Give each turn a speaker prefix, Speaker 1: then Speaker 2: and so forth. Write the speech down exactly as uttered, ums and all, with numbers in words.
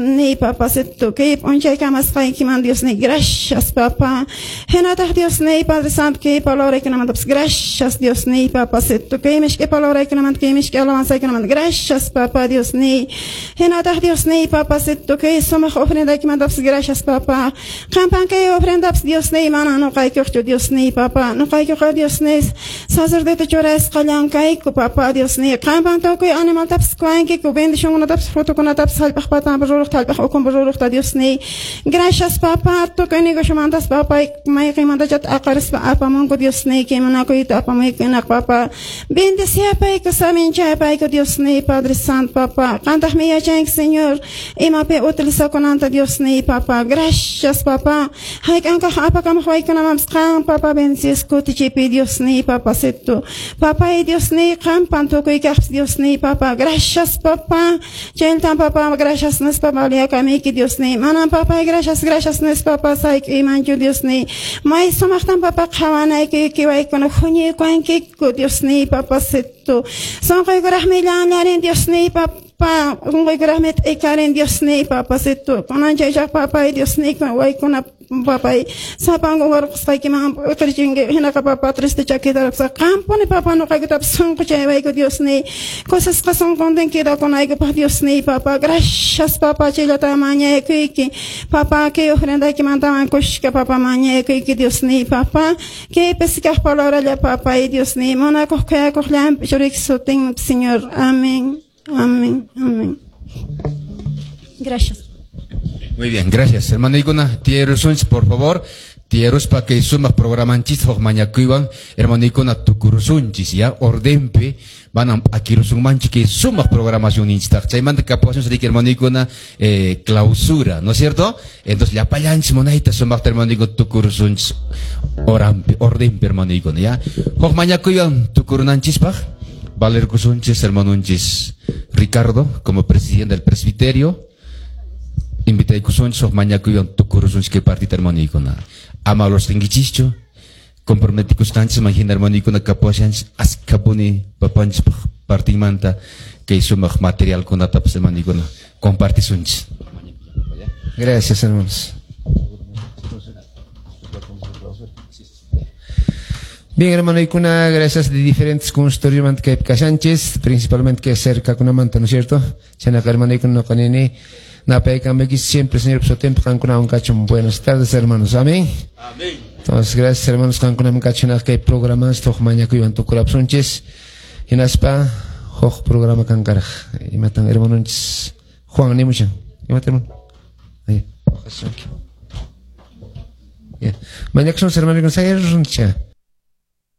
Speaker 1: Ni papacito kay p'unchaykamasqaykiman Dios ni gracias papá. Hinataq Dios ni Padre Santo kay palabraykunamantapis gracias Dios ni papacito kay mishk'i palabraykunamanta kay mishk'i alabanzaykunamanta gracias papá Dios ni. Hinataq Dios ni papacito kay sumaq ofrendaykimantapas gracias papá. Qampan kay ofrendapas Dios ni mana nuqaykuqchu Dios ni papá. Nuqaykuqa Dios ni sacerdote churasqallankayku papá Dios ni. Qampan tukuy animaltapas kuwankiku bendicionkunatapas frutokunatapas hallp'aq patanpi ruraq hallp'aq ukhunpi ruraqta Dios ni. Gracias papá tukuy negociomantas papá mayqinmantachata aqarispa apamunku Dios ni kimanakuyta apamuyku hinaq papá. Bendeciapayku saminchapayku Dios ni Padre Santo papá. Qantaqmi yachanki Señor imapi utilizakunanta Dios ni papá. Gracias papá. Hayk'ankaq apakamuq waykunamanpas qan papá bendices kutichipi Dios ni papacito. Papá y Dios ni qampan tukuy kaqpas Dios ni papá. Gracias papá. Chaynatan papá gracias nispa valiakamiki Dios ni. Manan papá gracias gracias nispa pasayku imanchu Dios ni. May sumaqtan papá qhawanayki kiwaykuna huñuykuwankiku Dios ni papacito. Sunquykuraqmi llanllarin Dios ni papá. Sunquykuraqmi t'ikarin Dios ni papacito. Kunanchaychaq papá y Dios ni waykuna papá sapanku warqusqaykiman utirchinki hinaqa papá triste chakitarapsa qampuni papá nuqaykutapas sunquchaywayku Dios ni kusisqa sunquntin quedakunaykupaq Dios ni papá gracias papá chayllata mañakuyki papá kay ofrendaykimantawan kushka papá mañakuyki Dios ni papá kaypis kaq palabralla papá y Dios ni munakuq khuyakuq llampi churiyki sutinpi Señor. Amén. Amén. Amén. Gracias.
Speaker 2: Muy bien, gracias. Hermanoykuna, tiyarisunchis, por favor. Tiyaruspa kay sumaq programanchis huk mañakuywan, hermanoykuna tukurusunchis, ya, ordenpi, manam p'akirusunmanchu kay sumaq programacionninchistaq. Chaymanta kapuwasun riki hermanoykuna eh, clausura, ¿no es cierto? Entonces, llapallanchis munayta sumaqta hermanoykuna tukurusunchis orampi, ordenpi hermanoykuna, ya. Huk mañakuywan tukurunanchispaq, valerkusunchis hermanonchis Ricardo como presidente del presbiterio. Invitaykusunchis huk mañakuywan tukurusunchis kay partita hermanoykuna. Ama los tinkichischu, comprometikusqanchis hina hermanoykuna kapuwashanchis askhapuni papanchispaq partinmanta kay sumaq materialkunatapas hermanoykuna compartisunchis.
Speaker 3: Gracias, hermanos. Bien, hermano Icuna, gracias de diferentes consultorios que Sánchez, principalmente que cerca con manta, ¿no es cierto? Chanaca, hermano Icuna, no canini. Siempre, Señor, por su tiempo, Buenas tardes, hermanos. Amén. Amén. Entonces, gracias, hermanos, que programas, Hinaspa, huk programa kankaraj. Imatan, hermanos, Juan, ni mucho. Imatan, hermano. Ahí. Ya. Mañana son hermanos,